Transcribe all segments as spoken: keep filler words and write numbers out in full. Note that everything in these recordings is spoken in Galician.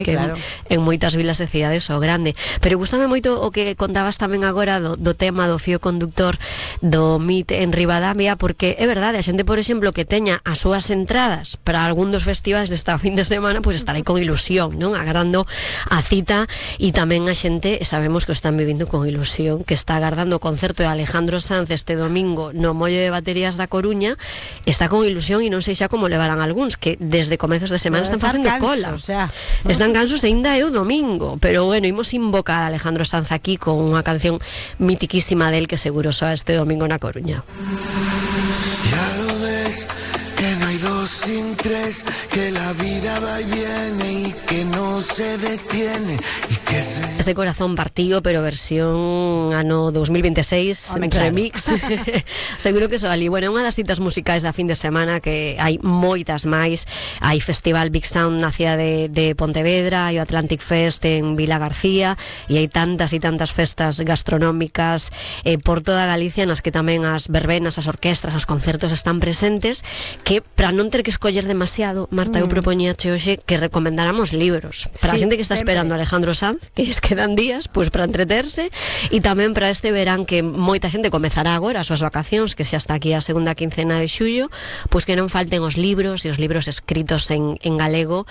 que claro. en, en moitas vilas e cidades o grande. Pero gustame moito o que contabas tamén agora do, do tema do fío conductor do M I T en Ribadavia, porque é verdade, a xente, por exemplo, que teña as súas entradas para algún dos festivais desta fin de semana, pois pues estarei con ilusión, non? Agardando a cita, e tamén a xente, sabemos que o están vivindo con ilusión, que está agardando o concerto de Alejandro Sanz este domingo no Mollo de Baterías da Coruña, está con ilusión e non sei xa como levarán algúns, que desde comezos de semana están facendo cola. O sea, están cansos e ainda é o domingo, pero bueno, imos invocar a Alejandro Sanz aquí con unha canción mitiquísima del que seguro soa este domingo na Coruña. Ya lo ves, que no hay dos sin tres, que la vida va y viene y que no se detiene y que se... Ese corazón partido, pero versión ano dos mil veintiséis, en remix. Seguro que soa ali. Bueno, unha das citas musicais da fin de semana, que hai moitas máis. Hai Festival Big Sound na cidade de, de Pontevedra, hai o Atlantic Fest en Vila García, e hai tantas e tantas festas gastronómicas eh, por toda Galicia, nas que tamén as verbenas, as orquestras, os concertos están presentes, que para non ter que escoller demasiado, Marta, mm. eu propoñíache hoxe que recomendáramos libros para sí, a xente que está sempre esperando a Alejandro Sanz, que lles quedan días pois para entreterse, e tamén para este verán que moita xente comezará agora as súas vacacións, que xa está aquí a segunda quincena de xullo, pois que non falten os libros e os libros escritos en, en galego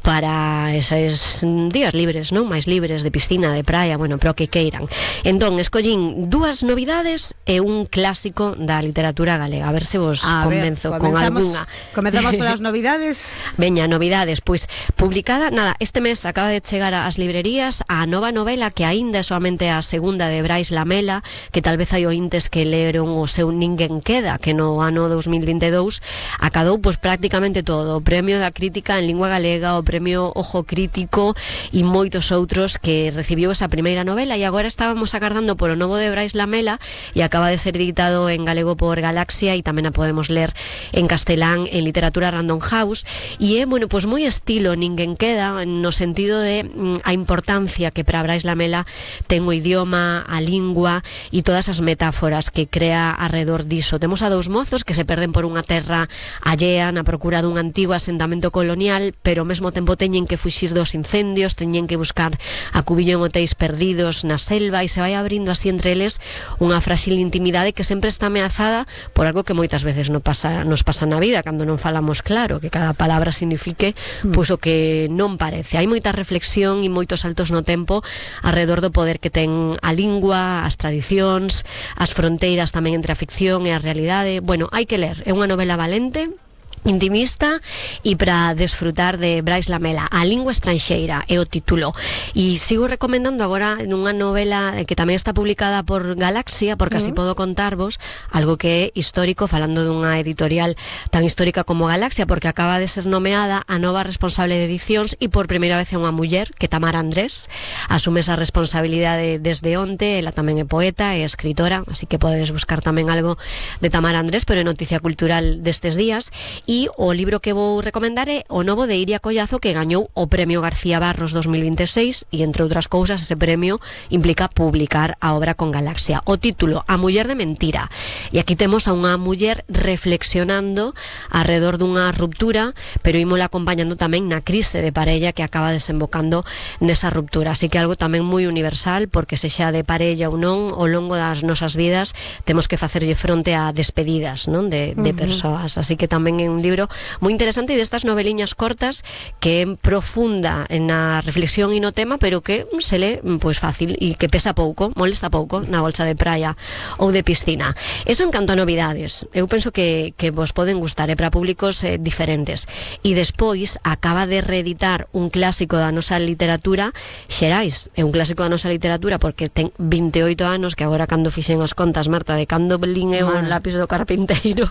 para eses días libres, non? Mais libres, de piscina, de praia, bueno, pero que queiran. Entón, escollín dúas novidades e un clásico da literatura galega, a ver se vos a convenzo ver, con algunha. Comezamos polas novidades. Veña, novidades, pois publicada, nada, este mes acaba de chegar ás librerías a nova novela que aínda é soamente a segunda de Brais Lamela, que tal vez hai ointes que leron o seu Ninguén queda, que no ano dos mil vinte e dous acadou pois prácticamente todo, o premio da crítica en lingua galega, o premio Ojo Crítico e moitos outros, que recibiu esa primeira novela, e agora estábamos agardando polo novo de Brais Lamela, e acaba de ser editado en galego por Galaxia, e tamén a podemos ler en castelán en Literatura Random House, e é, bueno, pois moi estilo Ninguén queda, no sentido de mm, a importancia que para Brais Lamela ten o idioma, a lingua e todas as metáforas que crea alrededor diso. Temos a dous mozos que se perden por unha terra allea na procura dun antigo asentamento colonial, pero ao mesmo tempo teñen que fuxir dos incendios, teñen que buscar a cubillo en hotéis perdidos na selva, e se vai abrindo así entre eles unha frágil intimidade que sempre está ameazada por algo que moitas veces non pasa, nos pasa na vida, cando non falamos claro, que cada palabra signifique mm. pois o que non parece. Hai moita reflexión e moitos saltos no tempo alrededor do poder que ten a lingua, as tradicións, as fronteiras tamén entre a ficción e a realidade. Bueno, hai que ler, é unha novela valente, intimista, e para desfrutar de Brais Lamela. A lingua estranxeira é o título, e sigo recomendando agora nunha novela que tamén está publicada por Galaxia, porque así uh-huh. podo contarvos algo que é histórico, falando dunha editorial tan histórica como Galaxia, porque acaba de ser nomeada a nova responsable de edicións, e por primeira vez é unha muller, que Tamara Andrés asume esa responsabilidade desde onte. Ela tamén é poeta e escritora, así que podedes buscar tamén algo de Tamara Andrés, pero é noticia cultural destes días. E o libro que vou recomendar é o novo de Iria Collazo, que gañou o Premio García Barros dos mil vinte e seis, e entre outras cousas ese premio implica publicar a obra con Galaxia. O título, A muller de mentira, e aquí temos a unha muller reflexionando alrededor dunha ruptura, pero ímola acompañando tamén na crise de parella que acaba desembocando nesa ruptura, así que algo tamén moi universal, porque sexa de parella ou non, ao longo das nosas vidas temos que facerlle fronte a despedidas, non, de, de uh-huh. persoas, así que tamén é un libro moi interesante, e destas noveliñas cortas que é profunda na reflexión e no tema, pero que se lee pois fácil e que pesa pouco, molesta pouco na bolsa de praia ou de piscina. Eso en canto a novidades, eu penso que, que vos poden gustar, é para públicos eh, diferentes. E despois acaba de reeditar un clásico da nosa literatura, Xerais, é un clásico da nosa literatura porque ten vinte e oito anos, que agora cando fixen as contas, Marta, de cando lin eu o Lápis do Carpinteiro,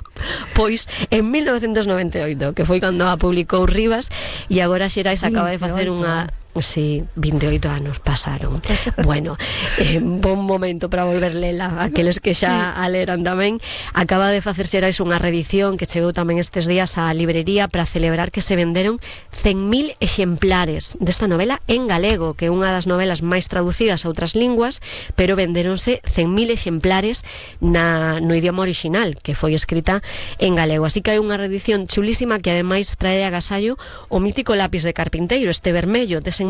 pois en mil novecentos noventa e oito, que foi cando a publicou Rivas, e agora Xerais acaba de facer unha... Sí, vinte e oito anos pasaron. Bueno, eh, bon momento para volver lela, aqueles que xa sí. a leran tamén. Acaba de facer Xerais unha reedición que chegou tamén estes días á librería para celebrar que se venderon cen mil exemplares desta novela en galego, que é unha das novelas máis traducidas a outras linguas, pero vendéronse cen mil exemplares na, no idioma original, que foi escrita en galego. Así que hai unha reedición chulísima que ademais trae a agasallo o mítico Lápis de Carpinteiro, este vermello desenmarañado